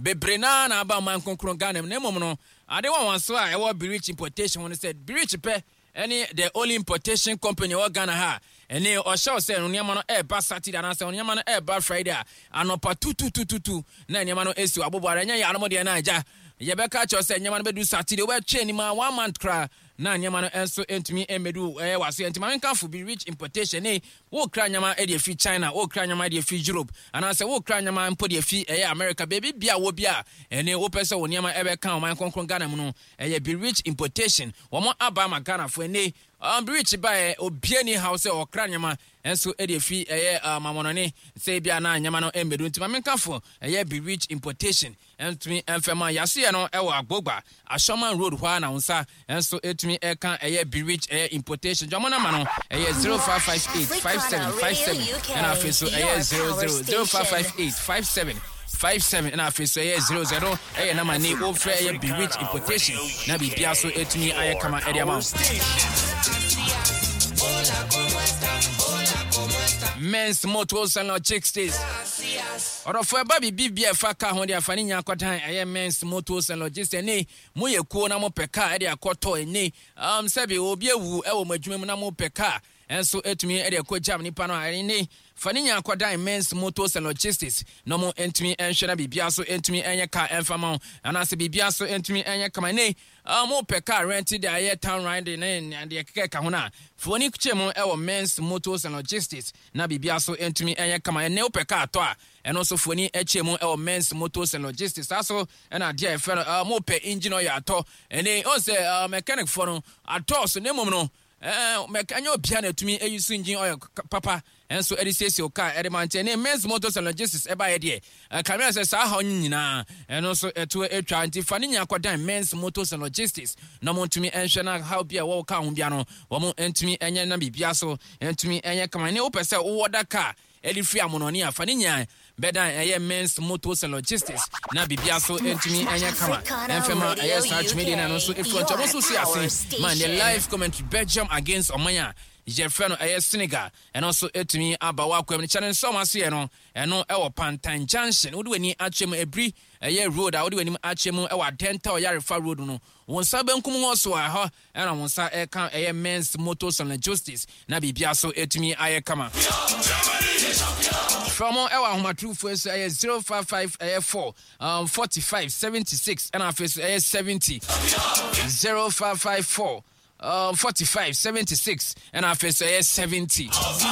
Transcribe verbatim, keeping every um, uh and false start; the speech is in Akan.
Bebree naa na aba ɔman kronkron Ghana mu. Na mmom no, ade wɔn so a ɛwɔ Birich Importation ho no sɛ Birich pɛ ɛne the only importation company ɛwɔ Ghana ha. Ɛne ɔhyɛw sɛ nneɛma no ɛɛba Saturday anaasɛ nneɛma no ɛɛba Friday a, anɔpa tututututu na nneɛma no esi abobo ara. Ɛnyɛ yɛ anom deɛ na agya yɛbɛka kyerɛ sɛ nneɛma no bɛdu Saturday, wobɛtwe anim a one month koraa na nneɛma no nso ntumi mmɛdu ɛyɛ waso. Nti maame nkafo Birich Importation ne wokra nneɛma de afi China, wokra nneɛma de afi Europe, anaasɛ wokra nneɛma mpo de afi ɛyɛ America, baabi bia wɔ bi a ɛne wopɛ sɛ wo nneɛma ɛbɛka ɔman kronkron Ghana mu no, ɛyɛ Birich Importation. Wɔn aba ama Ghanafoɔ. Ɛne um, Birich baɛ, obia ni haw sɛ ɔkra nneɛma nso de afi ɛyɛ mamɔnɔne sɛ ebi a na nneɛma no mmɛdu. Nti maame nkafo ɛyɛ Birich Importation ntumi mfɛma yasoyɛ no ɛwɔ Agbogba Asɔman Road hɔ a na wo nsa nso ɛtumi ɛka ɛyɛ Birich ɛyɛ Importation. Dwamɔ nama no ɛyɛ zero five five eight five seven five seven, ɛna afei so ɛyɛ zero zero, zero five five eight five seven five seven, ɛna afei so ɛyɛ zero zero. Ɛyɛ nama ne wofrɛ ɛyɛ Birich Importation na biribia so ɛtumi ayɛ kama ɛde ama wo. Men's Motors and Logistics, ɔdɔfo, ɛba biribi bi a ɛfa kaa ho de afa ne nya akɔdan ɛyɛ Men's Motors and Logistics. Ɛne moyɛ kuo na mopɛ kaa ɛde akɔtɔ, ɛne um, sɛbi obi awu ɛwɔ mo adwuma mu na mopɛ kaa ɛnso ɛtumi ɛde akɔ gyam nipa no a, ɛne fa ne nya akɔdan Men's Motors and Logistics na ɔmo ntumi ɛnhwɛ na biribia so ntumi ɛnyɛ kaa ɛmfa ma wo anaasɛ biribia so ntumi ɛnyɛ kama. Ne mopɛ car rent de ayɛ town riding ne deɛ keka ka ho no a, fa w'ani kyɛ mu ɛwɔ Men's Motors and Logistics na biribia so ntumi ɛnyɛ kama. Ɛnɛ wopɛ car tɔ a, ɛno nso fa w'ani kyɛ mu ɛwɔ Men's Motors and Logistics. Saa so ɛna adeɛ a yɛfrɛ no mopɛ engine oil atɔ, ɛne ɔn sɛ mechanic foɔ no atɔ so, na mmom no ɛnyɛ obia na atumi ayi so engine oil papa ɛnso ɛde siesie o car ɛde ma. Nkyɛn ne Men's Motors and Logistics ɛbaeɛ deɛ, ɛkamea sɛ saa haw no nyinaa ɛno nso ɛto atwa. Nti fa ne nyinaa kɔdan Men's Motors and Logistics na mo ntumi ɛnhwɛ na haw bi a ɛwɔ car ho bia no, wɔn ntumi ɛnyɛ na biribia so ntumi ɛnyɛ kama. Ne wopɛ sɛ wowɔ da car ɛde firi amonɔne a, fa ne nyinaa bɛdan ɛyɛ Men's Motors and Logistics na biribia so ntumi ɛnyɛ kama. Ɛmfɛma ɛyɛ saa dwumadie no, ɛno nso ɛfiri nkyɛn ɔmo nso si ase ma ne live commentary, Belgium against ɔman a yɛfrɛ no ɛyɛ Senegal, ɛno nso ɛtumi aba wɔ akwam no kyɛne nso ɔmo aseɛ no. Ɛno ɛwɔ Pantan Junction. Wode w'ani akyɛ mu ebiri ɛyɛ road a wode w'anim akyɛ mu ɛwɔ Adenta Ɔyarefa Road no, wɔn nsa benkum hɔ so a ɛhɔ ɛna wɔn nsa ɛka ɛyɛ Men's Motors and Logistics na biribia so ɛtumi ayɛ kama. Frɛ mo ɛwɔ ahomatrofoɔ so, ɛyɛ zero five five ɛyɛ four um, forty-five seventy-six, ɛna afei so ɛyɛ seventy, zero five five four um, forty-five seventy-six, ɛna afei so ɛyɛ seventy.